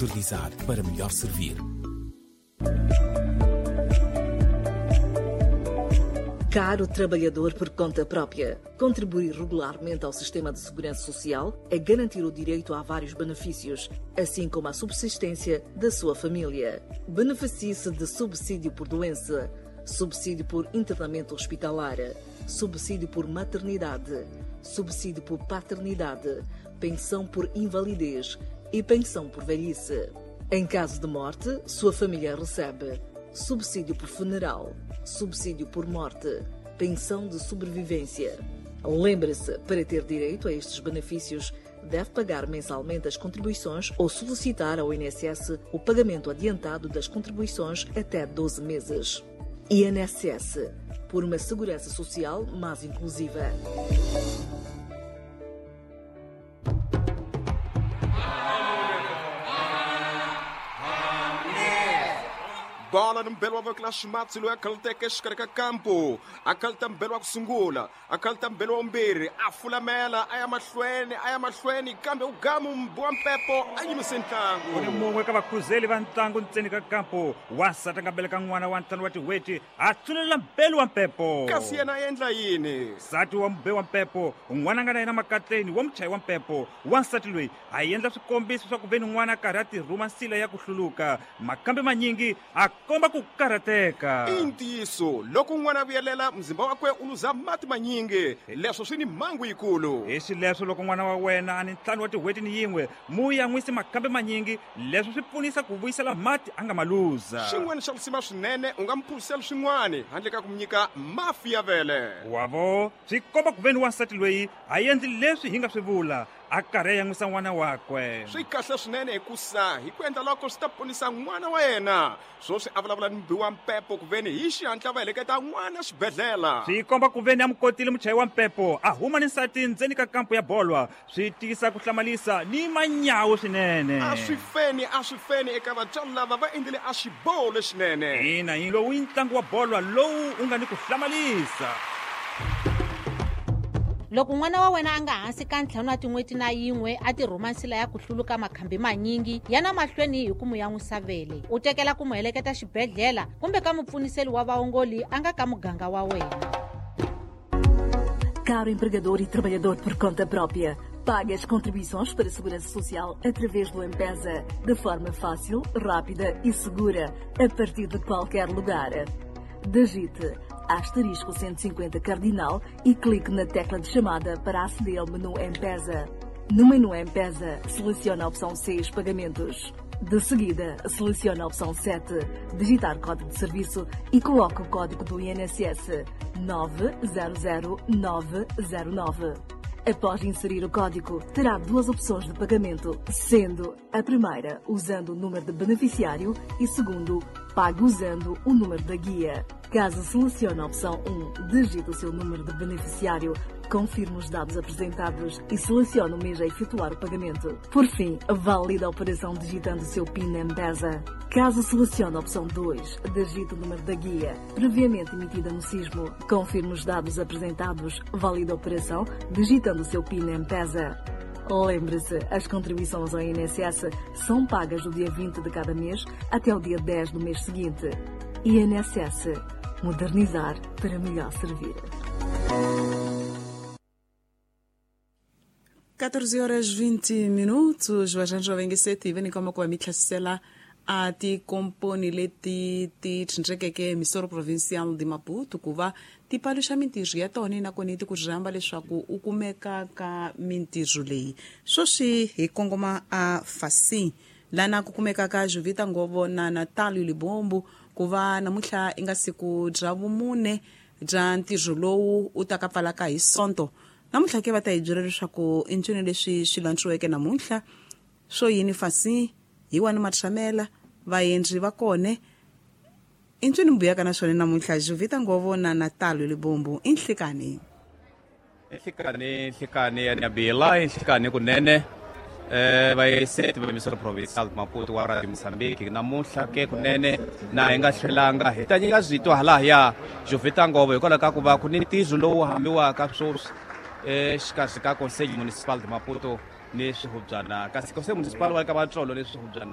Modernizar para melhor servir. Caro trabalhador por conta própria, contribuir regularmente ao sistema de segurança social é garantir o direito a vários benefícios, assim como a subsistência da sua família. Beneficie-se de subsídio por doença, subsídio por internamento hospitalar, subsídio por maternidade, subsídio por paternidade, pensão por invalidez e pensão por velhice. Em caso de morte, sua família recebe subsídio por funeral, subsídio por morte, pensão de sobrevivência. Lembre-se, para ter direito a estes benefícios, deve pagar mensalmente as contribuições ou solicitar ao INSS o pagamento adiantado das contribuições até 12 meses. INSS, por uma segurança social mais inclusiva. Bola ni mbelo wa voko la ximatsi loyi a khaluteke exikarhi ka kampo a khaluta mbelo wa ku sungula a khaluta mbelo wa vumbirhi a fulamela a ya mahlweni a ya mahlweni kambe u gamu mbi wa mpepo a yimise U ni ntlangu. Mun'we ka vakhuzeli va ntlangu ntseni ka kampo, wansati a nga beleka n'wana wa 5 wa tin'hweti, a tsunelela mbelu wa mpepo. Kasi yena a endla yini? Nsati wa mube wa mpepo, n'wana a nga na yena makatleni wa muchayi wa mpepo, wansati loyi a endla swikombiso swa ku ve ni n'wana a karhi a tirhuma nsila ya ku hluluka, makambe manyingi a komba ku karhateka. I ntiyiso, loko n'wana a vuyelela muzimba wakwe u luza mati manyingi, leswo swi ni mhangu yikulu. Hi xileswo, loko n'wana wa wena a ni 5 wa tin'hweti ni yin'we, mu yan'wisi makambe manyingi, leswo swi pfunisa ku vuyisela mati a nga ma luza. Xin'wana xa risima swinene, u nga mi phuzisela swin'wana handle ka ku mi nyika mafi ya vele. Wavo swi komba ku ve ni wansati loyi a endli leswi hi nga swi vula, a karhi a yan'wisa n'wana wakwe. Swi kahle swinene, hikusa hi ku endla loko swi ta ponisa n'wana wa yena. Swoswi a vulavula ni mubi wa mpepo ku veni hi xihatla va heleketa n'wana xibedhlele. Swi komba ku ve ni a mu kotile muchayi wa mpepo a huma ni nsati ndzeni ka kampo ya bolwa, swi tiyisa ku hlamalisa ni manyawu swinene. A swi feni, a swi feni eka vatswari lava va endlile a xiboho lexinene. Ina, hi lowu i ntlangu wa bolwa lowu u nga ni ku hlamalisa. Loko n'wana wa wena a nga hansi ka 5 wa tin'hweti na yin'we a tirhuma nsila ya ku hluluka makhambi manyingi, yana mahlweni hi ku mu yan'wisa vele, u tekela ku mu heleketa xibedhlele kumbe ka mupfuniseli wa vaongoli a nga ka muganga wa wena. Caro empregador e trabalhador por conta própria, pague as contribuições para a Segurança Social através do M-Pesa, de forma fácil, rápida e segura, a partir de qualquer lugar. Digite asterisco 150 cardinal e clique na tecla de chamada para aceder ao menu M-Pesa. No menu M-Pesa, selecione a opção 6, Pagamentos. De seguida, selecione a opção 7, Digitar código de serviço, e coloque o código do INSS 900909. Após inserir o código, terá duas opções de pagamento, sendo a primeira usando o número de beneficiário e segundo, pague usando o número da guia. Caso selecione a opção 1, digite o seu número de beneficiário, confirme os dados apresentados e selecione o mês a efetuar o pagamento. Por fim, valide a operação digitando o seu PIN M-Pesa. Caso selecione a opção 2, digite o número da guia, previamente emitida no sismo, confirme os dados apresentados, valide a operação digitando o seu PIN M-Pesa. Lembre-se, as contribuições ao INSS são pagas do dia 20 de cada mês até o dia 10 do mês seguinte. INSS. Modernizar para melhor servir. 14 horas 20 minutos, vaxanxo va ngeseti va nyika mako va mi tlhasela a tikomponi leti ti tshindrekeke Misoro Provincial de Maputo ku va ti paluxa mintirho ya tona, nakona ti ku rhamba leswaku u kumeka ka mintirho leyi. Sweswi hi kongoma a Fasin, lana ku kumeka ka Jovita Ngovo na Natalio Libombo, ku va namuntlha i nga siku bya vumune bya ntirho lowu u ta ka pfalaka hi Sonto. Namuntlha ke va ta hi byela leswaku i ncini leswi swi lantswiweke namuntlha, swo yini Fasin, hi wani matshamela vaendzi va kone, i ncini mbuyaka na swona namuntlha. Jovita Ngovo na Natalio Libombo, i nhlikani. Nhlikani, nhlikani ya Nabila, nhlikani kunene. Vayeseti va Misoro Provincial Maputo wa Radio Mozambique, namuntlha ke kunene na hi nga hlwelanga hi ta nyika zwito halahaya Jovita Ngovo, hikwalaho ka ku va ku ni ntirho lowu hambiwaka swoswi exikarhi ka Conselho Municipal de Maputo ni swihubyana, kasi Conselho Municipal wa ka Vatsolo ni swihubyana.